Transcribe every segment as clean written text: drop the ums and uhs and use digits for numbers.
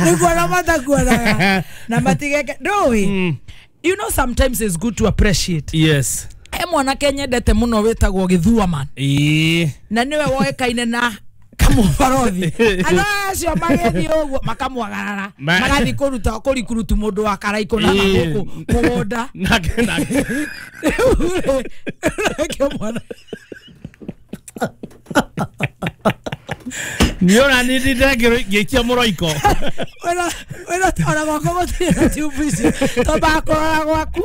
Nĩ kuona matakuonaga na matigeke ndũĩ. You know, sometimes it's good to appreciate. Yes. He mwanake nyendete mũno wĩtagwo Gĩthua Man. Na nĩwe woĩkaine na kamũbarothi. Andũ acio magĩthiĩ ũguo makamwagarara, magathiĩ kũruta kũrikurutu mũndũ wa Karaikũ na gũkũ mũgũnda. Nake Rĩu nake mwana nĩ ona nĩ ndinde ngĩikia mũroiko. Wĩna ona gwakwa gũtirĩ na tube icio, twambaga kũrora gwaku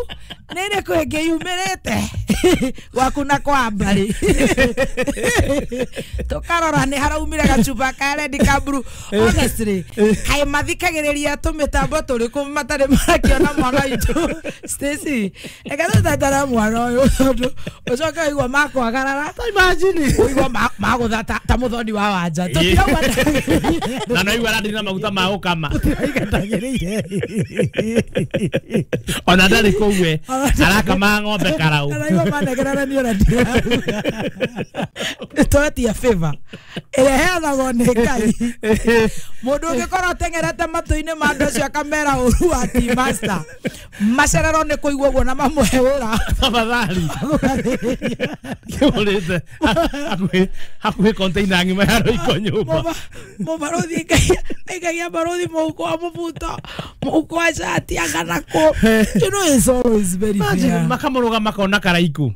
nĩ ĩrĩkũ ĩngĩ yumĩrĩte gwaku na kwa mbarĩ, tũkarora nĩ haraumire gacuba ka red ka blue. Honestly, kaĩ mathikagĩrĩria tũmĩtambo tũrĩkũ matarĩ marakĩona mwana witũ Stacy? Reke tũtetera mwana ũyũ, tondũ ũcoke ũigua makwagarara. Imagine. Ũigua magũtha ta mũthoni wa wanja tũtirauga. Na no igua arandina na maguta ma gũkama. Ndagĩrĩire. Ona ndarĩ kũu we arakama ng'ombe karau. Araigua manegerera nĩ ũrĩa ndirauga. Twetia favor ĩrĩa ĩheanagwo nĩ Ngai. Mũndũ ũngĩkorwo ateng'erete matũ-inĩ ma andũ acio akamera ũru wa tea master, macererwo nĩ kũigua ũguo na mamũhe wĩra. Tafadhali, kĩhũrĩte hakuhĩ container ng'ima ya roiko nyũmba. Mũbarũthi aikagia barũthi mũhuko wa mũbuto, mũhuko wa cati, angana kũ. You know, it's always very Imagine, fair. Makamũrũga makona karaiku.